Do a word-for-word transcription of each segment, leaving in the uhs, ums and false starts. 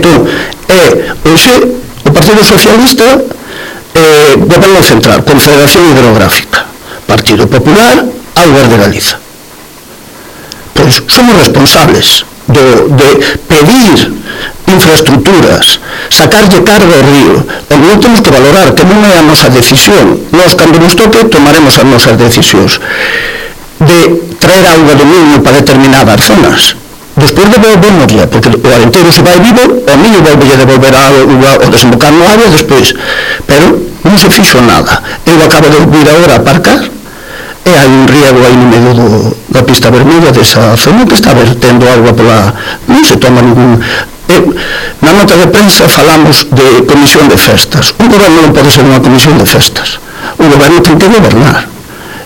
Entón, é, hoxe, o Partido Socialista eh, Goberno Central, Confederación Hidrográfica, Partido Popular, Augas de Galiza. Pois somos responsables do, de pedir infraestructuras, sacarlle carga ao río, e non temos que valorar que non é a nosa decisión. Nós, cando nos toque, tomaremos as nosas decisións de traer auga do Miño para determinadas zonas. Despois devolvémosla, porque o Alenteiro se vai vivo, o Miño volve a devolver a auga ou desembocar no área despois, pero non se fixo nada. Eu acabo de vir agora a aparcar e hai un riego aí no medio do, da pista vermelha desa zona que está vertendo auga pola... non se toma ningún... Eh, na nota de prensa falamos de comisión de festas. Un goberno non pode ser unha comisión de festas. O goberno ten que gobernar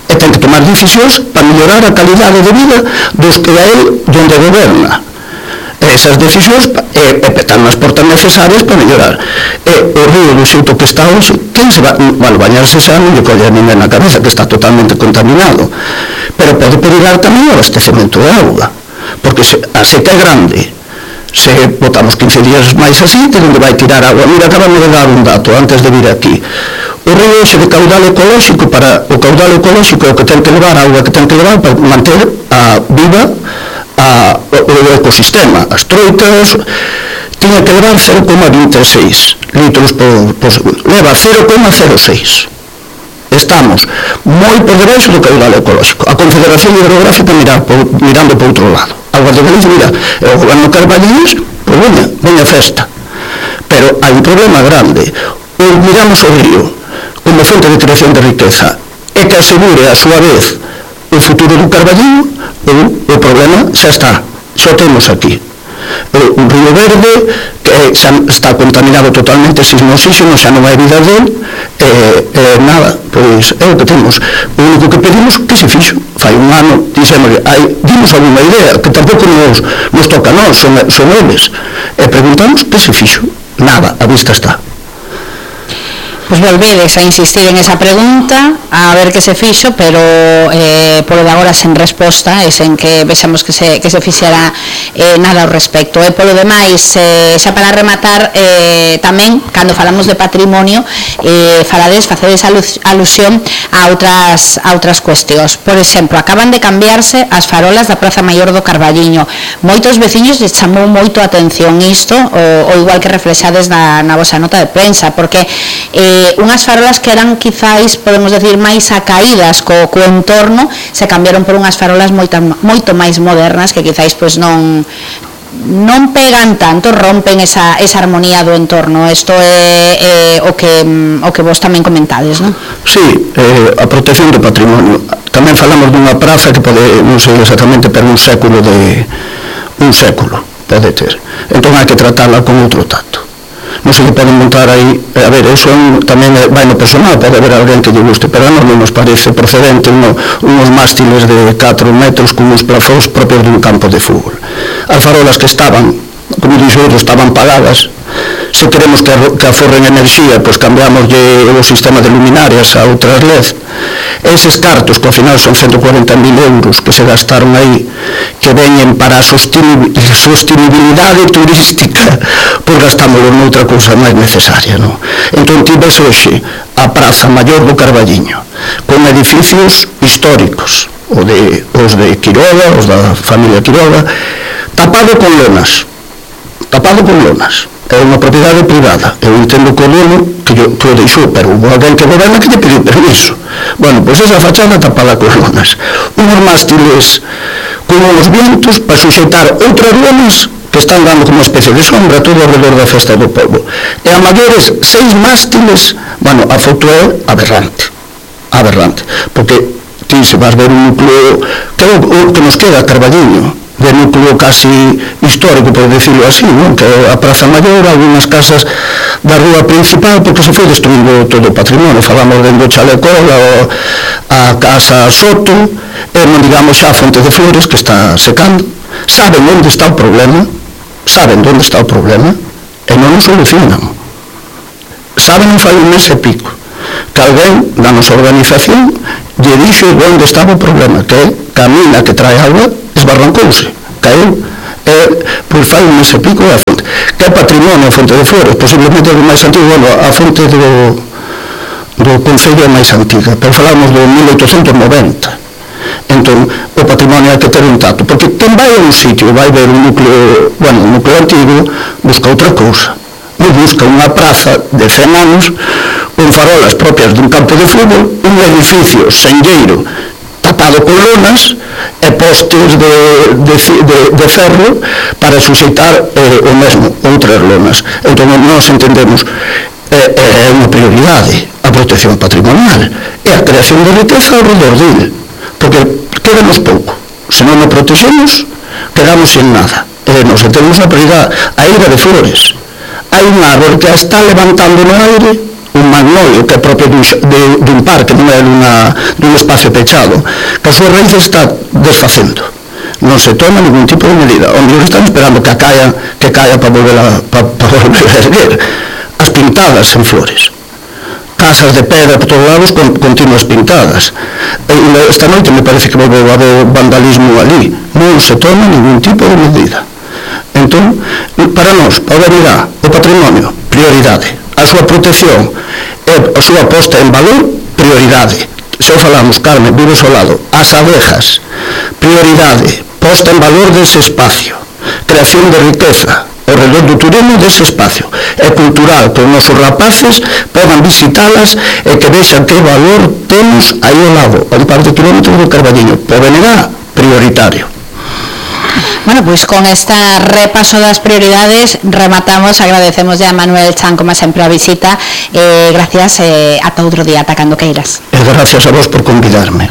e ten que tomar decisións para mellorar a calidade de vida dos que a él donde goberna. E esas decisións e, e petar nas portas necesarias para mellorar. E o río do xeito que está hoxe, quen se va, bueno, bañarse xa non lle colle a ninguén na cabeza, que está totalmente contaminado, pero pode perigar tamén o abastecemento de auga, porque se, a seca é grande. Se botamos quince días máis así, que onde vai tirar agua. Mira, acabamos de dar un dato antes de vir aquí. O río ese de caudal ecolóxico, para o caudal ecolóxico é o que ten que levar, a auga que ten que levar para manter a viva a, o ecosistema. As troitas tiña que levar cero coma vinte e seis litros por, por segundo. Leva cero coma cero seis. Estamos moi por debaixo do caudal ecolóxico. A Confederación Hidrográfica mira, por, mirando por outro lado. Augas de Galicia, mira, o goberno Carballiños, pois veña, veña festa. Pero hai un problema grande. O miramos o río como fonte de creación de riqueza e que asegure a súa vez o futuro do Carballiño, ou o problema xa está, xa o temos aquí. Un río verde que xa está contaminado totalmente sin oxígeno, xa non hai vida dele, e, e nada, pois é o que temos. O único que pedimos que se fixo. Fai un ano, dixemos, dimos alguna idea, que tampouco nos, nos toca a nós, son, son eles, e preguntamos que se fixo. Nada, a vista está. Pois volvedes a insistir en esa pregunta, a ver que se fixo, pero eh, polo de agora sen resposta e sen que vexamos que se, que se fixera eh, nada ao respecto. E polo demais, eh, xa para rematar, eh, tamén, cando falamos de patrimonio, eh, falades, facedes alusión a outras, a outras cuestións. Por exemplo, acaban de cambiarse as farolas da Praza Maior do Carballiño. Moitos veciños les chamou moito a atención isto, o, o igual que reflexades na, na vosa nota de prensa, porque eh, unhas farolas que eran quizáis, podemos decir, máis acaídas co, co entorno, se cambiaron por unhas farolas moito, moito máis modernas que quizáis pois non non pegan tanto, rompen esa, esa armonía do entorno. Isto é, é o, que, o que vos tamén comentades, non? Sí, eh, a protección do patrimonio. Tamén falamos dunha praza que pode, non sei exactamente, pero un século de un século pode ter. Entón hai que tratarla con outro tato. Non se lle poden montar aí, a ver, eso tamén vai no personal, pode haber alguén que lle guste, pero a nós non nos parece procedente uno, unos mástiles de catro metros con uns plafóns propios dun campo de fútbol. As farolas que estaban, como dixo outro, estaban pagadas. Se queremos que, que aforren enerxía, pois cambiamos o sistema de luminarias a outras L E D. Eses cartos, que ao final son ciento cuarenta mil euros que se gastaron aí, que veñen para a sostenibilidade turística, pois gastámoslo noutra cousa máis necesaria, non? Entón tivese hoxe a Praza Maior do Carballiño, con edificios históricos, os de, os de Quiroga, os da familia Quiroga, tapado con lonas, tapado con lonas. É unha propiedade privada. Eu entendo que o dono que, yo, que o deixou, pero hubo alguén que goberna que lle pediu permiso. Bueno, pois esa fachada tapada con lonas. Unos mástiles con uns vientos para suxeitar outras lonas que están dando como uma especie de sombra todo alrededor da festa do povo. E a maiores seis mástiles, bueno, a foto é aberrante. Aberrante. Porque ti se vas ver un núcleo que é o que nos queda a Carballiño, de núcleo casi histórico, por decirlo así, non? Que a Praza Maior, algunhas casas da rúa principal, porque se foi destruindo todo o patrimonio. Falamos dentro do Chalecola, a Casa Soto, e non digamos xa a Fonte de Flores, que está secando. Saben onde está o problema, saben onde está o problema, e non o solucionan. Saben non fai un mes e pico que alguén da nosa organización lle dixo onde estaba o problema, que é que a mina que trae agua esbarrancouse, caeu, e, pois fai un mes e pico a fonte. que é patrimonio a fonte de Flores, posiblemente o máis antigo, bueno, a fonte do, do Concello é máis antiga, pero falamos do mil oitocentos noventa. Entón, o patrimonio hai que ter un tato, porque quen vai a un sitio, vai ver un núcleo, bueno, un núcleo antigo, busca outra cousa, non busca unha praza de cen anos, con farolas propias dun campo de fútbol, un edificio senlleiro, tapado con lonas e postes de, de, de, de ferro para suxeitar eh, o mesmo, outras lonas. Entón, nós entendemos é eh, eh, unha prioridade a protección patrimonial e a creación de riqueza ao redor dele, porque quedamos pouco. Se non o protexemos, quedamos sin nada. E nos entendemos na prioridade. A Ilha de Flores, hai un árbol que a está levantando no aire, un magnolio que é propio dun, de, dun parque, non é dun, dun espacio pechado, que a súa raíz está desfacendo. Non se toma ningún tipo de medida. Onde están esperando que caia, que caia para volver a, para, para volver a erguer. As pintadas en Flores. Casas de pedra por todos lados con continuas pintadas. E esta noite me parece que volveu a haber vandalismo ali. Non se toma ningún tipo de medida. Entón, para nós, a unidade, o patrimonio, prioridade. A súa protección e a súa posta en valor, prioridade. Se o falamos, Carmen, vives ao lado. As abejas, prioridade. Posta en valor dese espacio. Creación de riqueza ao redor do turismo dese espacio. É cultural que os nosos rapaces podan visitalas e que vexan que valor temos aí ao lado, a un par de kilómetros do Carballiño. Por B N G, prioritario. Bueno, pois con esta repaso das prioridades rematamos, agradecemos a Manuel Chan como sempre a visita, eh, gracias, eh, ata outro día, ata cando queiras. E gracias a vos por convidarme.